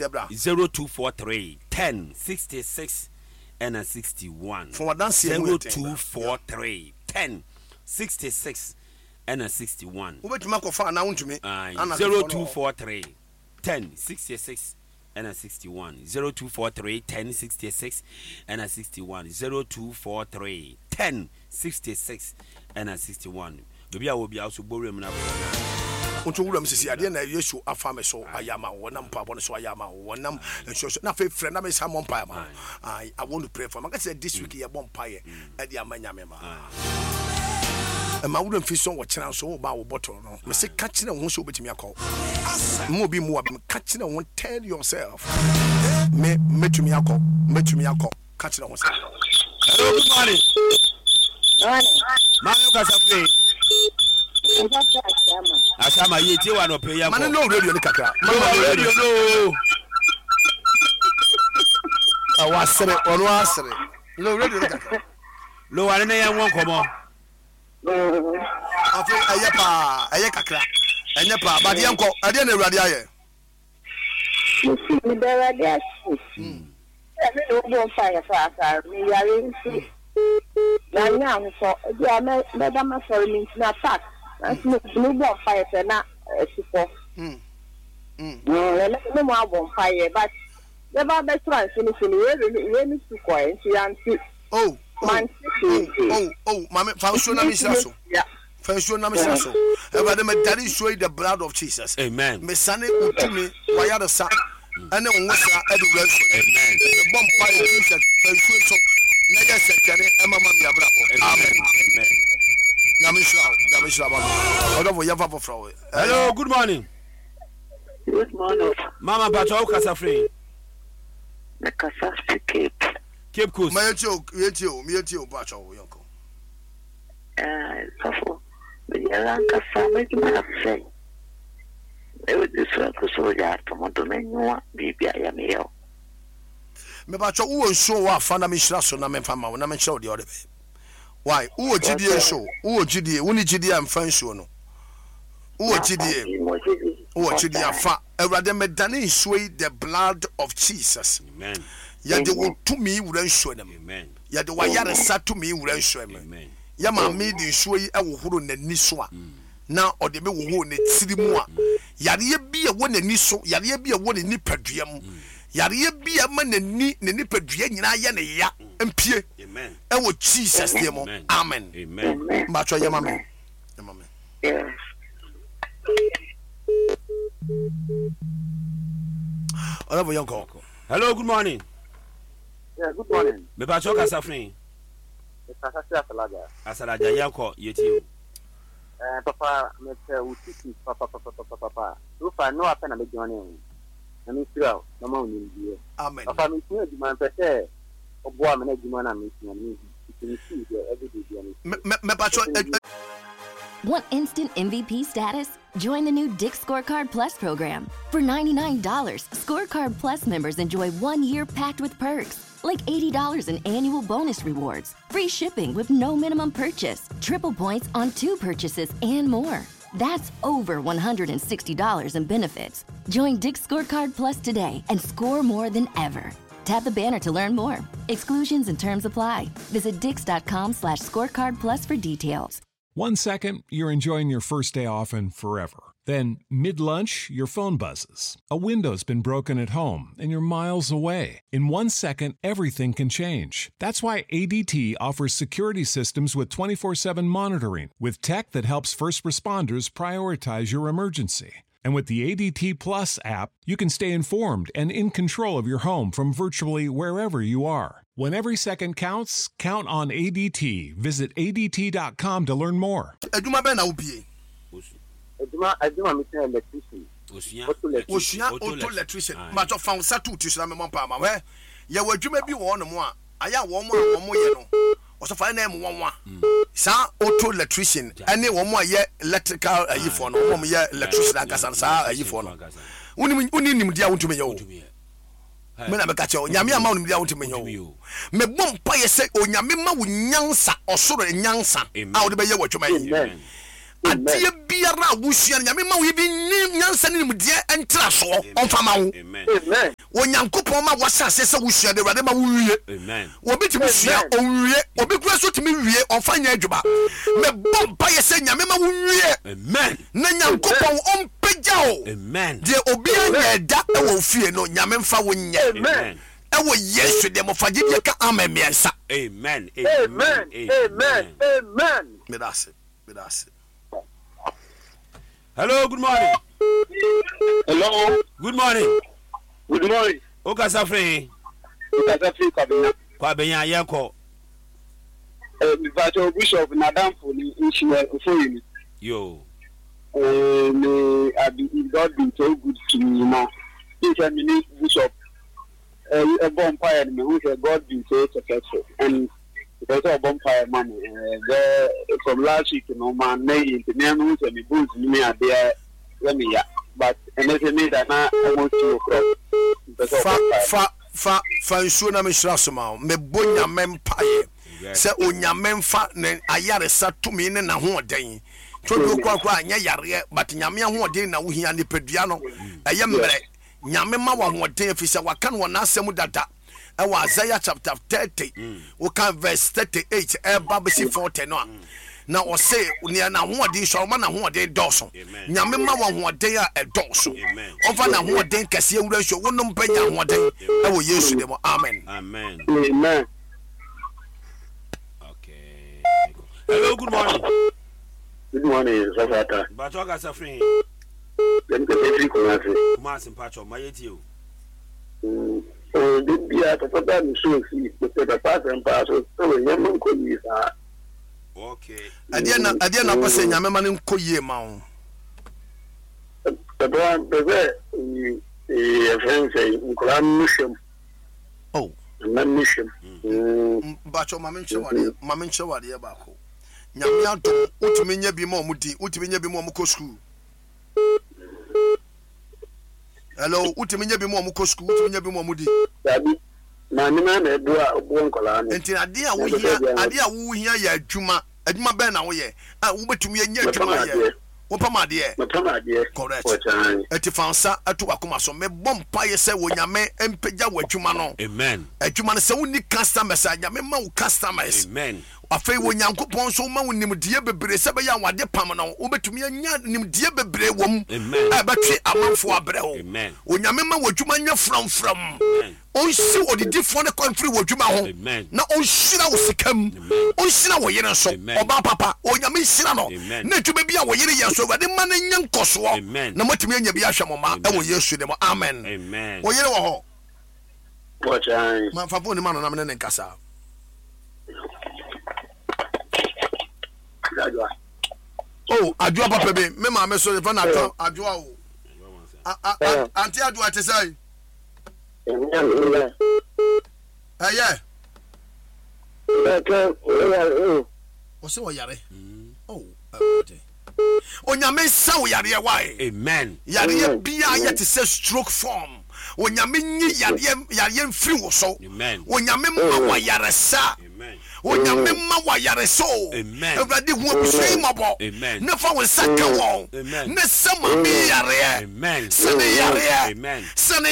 Yɛbra. 0243 10 66 ɛna 61. Fa w'adanseɛ mu yɛ den bra. 0243 10 66 ɛna 61. Wobɛtumi akɔfa anaa wontumi? Ae, Anakfoɔ no wɔ hɔ. 0243 10 66 ɛna 61. 0243 10 66 ɛna 61. 0243 10 66 ɛna 61. Baabi a wɔ biara so bɔ wuram na frɛ na. Wonto wuram sisi adeɛ na Yesu afa me so ayɛ ama wo, wɔnam mpaebɔ no so ayɛ ama wo, wɔnam nsuo so na afei frɛ na mesan mmɔ mpaeɛ ama wo. I, I want to pray for. Maka sɛ this week yɛbɔ mpaeɛ ɛde ama Nyame ma. Ɛma wura mfi so wɔkyena nso wo ba wo bɔtɔ no. Mese ka kyerɛ wo ho sɛ wobɛtumi akɔ. Mma obi mmu w'abam. Ka kyerɛ wo ho, tell yourself. Me, mɛtumi akɔ, mɛtumi akɔ. Ka kyerɛ ho sɛ. Hello, good morning. Morning. Maame kasa firi. Mpasa Ashama. Ashama yie tie wa nɔpɛ yɛn kɔ. Ma ne low radio ne kakra. Low radio no. Ɛwɔ asere, ɔno asere. Low radio ne kakra. Low ane ne yɛn wɔ nkɔmɔ. Afei ɛyɛ paa, ɛyɛ kakra, ɛnyɛ paa, but yɛn kɔ, ɛdeɛ na Awurade ayɛ. Mesi meda Awurade ase sɛ me ne wo bɔ mpaeɛ paapaa. Meyare nti manyɛ ahotɔ. Ebi a mɛda masɔre mentumi attack nanso metumi bɔ mpaeɛ sɛ na asi kɔ. Ɛnɛ me ne mo abɔ mpaeɛ but yɛba abɛtra mfinimfini wei wei ne su kɔɛ nti yɛante. Oh, oh, Mante oh, hwee. oh, oh, maame fa nsuo na menhyira so. Fa nsuo na mehyira so. Awurade medare nsuo yi the blood of Jesus. Amen. Mesane wo tumi, w'ayaresa ɛne wo nwosra ɛde wura nsuo no. Amen. Mebɔ mpaeɛ Jesus fa nsuo yi so na yɛ nsɛnkyerɛnne ɛma ma me abrabɔ. Amen. Amen. Nyame nhyira wo. Nyame nhyira ma me. Ɔdɔfo yɛmfa foforɔ wo. Hello, good morning. Good morning. Mama Pacho, wo kasa firi. Me kasa fi Cape. Cape Coast. Ma yɛntie o, yɛntie o, yɛntie o, Pacho, yɛnkɔ. Eh, sɔfo, meyɛrɛ ankasa m'adwuma asɛe. Mede so agu so yɛ atom do m'enyiwa biribi ayɛ me yaw. Mepakyɛ wowɔ nsuo wɔ afa na menhyira so na memfa ma wo na menkyerɛ wo deɛ ɔde bɛyɛ. Why? Wowɔ gyidie nso? Wowɔ gyidie? Wonni gyidie a mfa nsuo no. Wowɔ gyidie? Wowɔ gyidie afa. Awurade medane nsuo yi the blood of Jesus. Amen. Yɛde wo tumi wura nsuo no mu. Amen. Yɛde w'ayaresa tumi wura nsuo mu. Amen. Yɛ maame de nsuo yi hohoro n'ani so a, na ɔde bi hohoro ne tiri mu a, yareɛ bi a ɛwɔ n'ani so, yareɛ bi a ɛwɔ ne nipadua mu, yareɛ bi a ɛma n'ani, ne nipadua nyinaa yɛ ne ya mpue Amen. ɛwɔ Jesus din mu. Amen. Amen. Amen. Mbatwɛ yɛ ma me. Yɛ ma me. Yes. Ɔdɔfo yɛn kɔ. Hello, good morning. Yeah, good morning. Mepakyɛ kasa firi. Mekasa fi Asalaja. Asalaja yɛn kɔ yɛtie o. Eh, papa, mepɛ wo teachings papapapapapa. So far, no apɛ na me join wo. Na me nhyira wo, na ma wo nimdeɛ. Amen. Papa, mesua adwuma, mepɛ sɛ ɔboa me na adwuma no a mesua no mehu. Nti me sukuu deɛ, everyday bia mesua. Mepatwɔ Want instant MVP status? Join the new Dick's Scorecard Plus program. For $99, Scorecard Plus members enjoy one year packed with perks, like $80 in annual bonus rewards, free shipping with no minimum purchase, triple points on two purchases, and more. That's over $160 in benefits. Join Dick's Scorecard Plus today and score more than ever. Tap the banner to learn more. Exclusions and terms apply. Visit dix.com slash scorecard plus for details. One second, you're enjoying your first day off and forever. Then, mid lunch, your phone buzzes. A window's been broken at home and you're miles away. In one second, everything can change. That's why ADT offers security systems with 24 7 monitoring, with tech that helps first responders prioritize your emergency. And with the ADT Plus app, you can stay informed and in control of your home from virtually wherever you are. When every second counts, count on ADT. Visit ADT.com to learn more. Adwuma bɛn na wobie? Adwuma adwuma mesua electrician. Osua Auto electrician. Osua auto electrician. Mpatsɔ fa wo nsa to wo ti so na memmɔ mpae ma wo. Hwɛ, yɛwɔ adwuma bi wɔ hɔnom a, ayɛ a wɔn a wɔyɛ no, ɔsɔfo ayɛ na ɛyɛ nwanwa. Saa auto electrician ɛne wɔn a yɛ electrical ayifoɔ no, wɔn a wɔyɛ electrician ankasa no, saa ayifoɔ no. Wonim, wonni nimdeɛ a wontumi nyɛ o. Me na meka kyerɛ wo, Nyame amma wo nimdeɛ a wontumi nyɛ o. Mebɔ mpaeɛ sɛ Onyame ma wo nyansa, ɔsoro nyansa a wode bɛyɛ w'adwuma yi. Adeɛ biara a wosua no, Nyame ma wo even nyansa ne nimdeɛ ntrasoɔ ɔmfa ma wo. Onyankopɔn ma woahyɛ aseɛ sɛ wosua no, Awurade ma wo nwie. Obi tumi sua, ɔnwie. Obi koraa nso tumi wie, ɔmfa nyɛ adwuma. Mebɔ mpaeɛ sɛ Nyame ma wo nwie. Na Nyankopɔn ɔmpagya wo. Deɛ obiara nyɛɛ da wɔ wo fie no, Nyame mfa wo nyɛ. Ɛwɔ Yesu deɛ mo fa gyidie ka amen mmiɛnsa. Amen. Amen. Amen. Amen. Meda ase. Meda ase. Hello, good morning. Hello. Good morning. Good morning. O kasa firi he? O kasa firi Kwabenya. Kwabenya yɛn kɔ. Eh, Mipacho Bishop Nadamfo ni nhyia ofori ni. Yo. Eh, me abi God been so good to me na. Sɛ me ne Bishop ɛbɔ mpaeɛ no mehu sɛ God been so successful and mepɛ sɛ ɔbɔ mpaeɛ ma me bɛ from last week no ma nnɛ yi nti mea mehu sɛ me bones no ne adeɛ yɛ me ya but ɛnɛ sɛ me da na almost 2 o'clock mepɛ sɛ ɔbɔ mpaeɛ. Fa fa fa nsuo na menhyira so ma wo. Mebɔ Nyame mpaeɛ sɛ Onyame mfa ne ayaresa tumi ne n'ahoɔden todwo korakora nyɛ yareɛ but Nyame ahoɔden na wohia nipadua no ɛyɛ mmerɛ Nyame ma wo ahoɔden efisɛ waka no wɔ n'asɛm mu dada ɛwɔ Isaiah chapter 30 woka verse 38 ɛba bɛsi 40 no a na ɔse nea n'ahoɔden sua ɔma n'ahoɔden dɔɔso. Nyame ma wo ahoɔden a ɛdɔɔso. Ɔmfa n'ahoɔden kɛseɛ wura nsuo wonom bɛnya ahoɔden ɛwɔ Yesu din mu. Amen. Amen. Amen. Okay. Hello, good morning. Good morning, Sɔfo Ata. Mpatsɔ kasa firi he? Yɛn kasa firi Kumasi. Kumasi mpatsɔ ma yɛ tie o. Oh, de bia papa ba mi so si mepɛ papa asɛm paa so sɛ wɔ nneɛma nkɔ yie saa. Okay. Ɛdeɛ na ɛdeɛ na pɛ sɛ Nyame ma no nkɔ yie ma wo. Papa mpɛ sɛ yɛfrɛ no sɛ nkwadaa no hwɛ mu. Oh. Mma no hwɛ mu. Mpatsɔ ma menkyerɛ wo adeɛ ma menkyerɛ wo adeɛ baako. Nyame adom wotumi nya bi ma ɔmo di wotumi nya bi ma ɔmo kɔ sukuu. Hello, wotumi nya bi ma ɔmo kɔ sukuu, wotumi nya bi ma ɔmo di. Dabi, maame no ara na ɛboa ɔboa nkwadaa no. Nti adeɛ a wohia adeɛ a wohia yɛ adwuma. Adwuma bɛn na woyɛ a wobɛtumi anya adwuma ayɛ? Wopam adeɛ? Mepam adeɛ. Correct. Ɛti fa nsa to w'akoma so. Mebɔ mpaeɛ sɛ Onyame mpagya w'adwuma no. Amen. Adwuma no sɛ wonni customers a, Nyame ma wo customers. Amen. Afei Onyankopɔn nso ma wo nimdeɛ bebree sɛ ɛbɛyɛ a w'ade pam no wobɛtumi anya nimdeɛ bebree wɔ mu a ɛbɛtwe amanfoɔ abrɛ wo. Onyame ma w'adwuma nyɛ frɔmfrɔm. Ɔnsi odidifoɔ no kwan mfiri w'adwuma ho na ɔnhyira wo sika mu. Ɔnhyira wo yere nso. Ɔbaa papa, Onyame nhyira no. Na adwuma bi a wo yere yɛ nso, Awurade mma no nyɛ nkɔsoɔ na moatumi anya bi ahwɛ mo mma wɔ Yesu din mu. Amen. Wo yere wɔ hɔ? Ma fa phone no ma no na me ne no nkasa. Oh, adwoa papa bi, me maame so yɛfrɛ no adwoa, adwoa o. Ante adwoa te sɛ? Ɛyɛ. Ɔsɛ ɔyare. Oh, Awurade. Onyame nsa wo yareɛ wae. Amen. Yareɛ biara yɛ te sɛ stroke form. Onyame nyi yareɛ yareɛ mfiri wo so. Amen. Onyame mma wo ayaresa. Amen. Onyame mma wo ayaresa o. Amen. Awurade hu abusua yi mmɔbɔ. Amen. Ne fa wo nsa ka wɔn. Amen. Ne sa maame yi yareɛ. Amen. Sa ne yareɛ. Amen. Sa ne.